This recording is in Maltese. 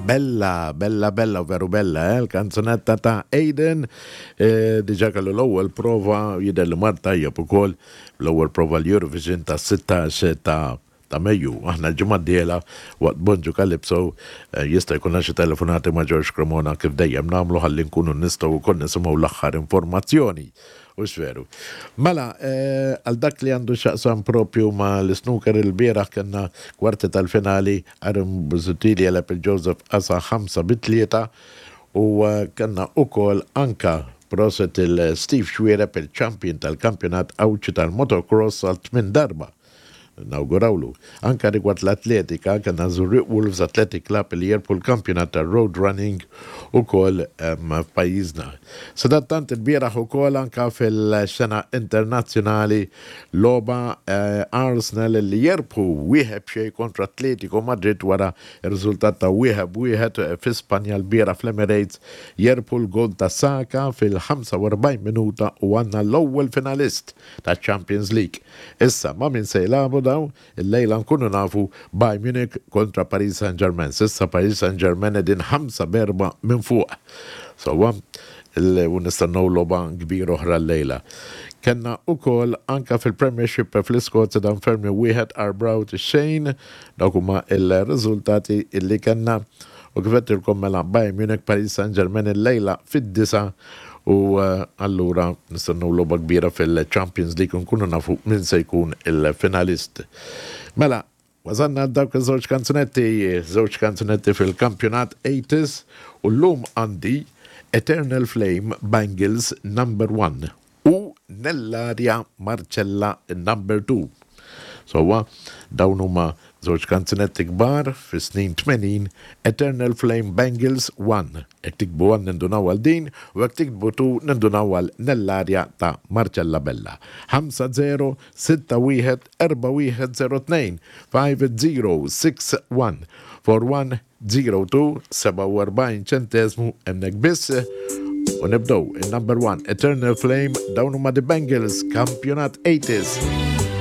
Bella, bella, bella, veru bella, eh? l-kanzunetta ta' Aiden, eh, diġa kellu l-ewwel prova jidher li mar tajjeb ukoll l-ewwel prova l-Eurovision ta' 16 ta' ta' Mejju. Aħna l-ġimgħa d-dieħla waqt Bonġu Calypso eh, jista' jkollna xi telefonati ma' George Cremona kif dejjem nagħmlu ħalli nkunu nistgħu wkoll nisimgħu l-aħħar informazzjoni. Hux veru. Mela, eh, għal dak li għandu x'jaqsam propju ma' l-snooker il-bieraħ kellna kwarti tal-finali Aaron Busuttil jegħleb il-Joseph Asa 5 bi 3 u eh, kellna ukoll anka proset il-Steve Xuereb il-champion tal-kampjonat Għawdxi tal-motocross għal tmien darba. Nawgurawlu. Anka rigward l-atletika, kellna Żurrieq Wolves Athletic Club li jerbħu l-kampjonat tar-road running ukoll f'pajjiżna. Sadattant ilbieraħ ukoll anka fil-xena internazzjonali logħba Arsenal li jerbħu wieħed b'xejn kontra Atletico Madrid wara r-riżultat ta' wieħed b'wieħed fi Spanja lbieraħ fl-Emirates jerbħu l-goal ta' Saka fil-45 minuta u għandna l-ewwel finalist taċ-Champions League. Issa, ma' min se jilagħbu dawn? Illejla nkunu nafu Bayern Munich kontra Paris Saint-Germain. S'issa Paris Saint-Germain qegħdin ħamsa b'erbgħa minn fuq. Sewwa, u nistennew logħba kbira oħra llejla. Kellna ukoll anke fil-Premiership fl-Iskozja Dunfermline wieħed Arbroath xejn. Dawk huma l-riżultati li kellna. U kif għedtilkom mela Bayern Munich Paris Saint-Germain illejla fid-disgħa U allura nistennew logħba kbira fil-Champions League u nkunu nafu min se jkun il-finalist. Mela, wasalna għal dawk iż-żewġ kanzunetti, żewġ kanzunetti fil-kampjonat 80s u llum għandi Eternal Flame Bangles Number 1 u Nellaria Marcella Number 2. Sewwa, dawn huma żewġ kanzunetti kbar fis-snin 80, Eternal Flame Bangles 1. Jekk tiktbu 1 nindunaw għal din u jekk tiktbu 2 nindunaw għal Nellaria ta' Marcella Bella. 5 0 6 1 4 1 0 2 5 0 6 1 4 1 02 47 ċenteżmu hemmhekk biss. U nibdew in-number 1 Eternal Flame dawn huma The Bangles, kampjonat 80s.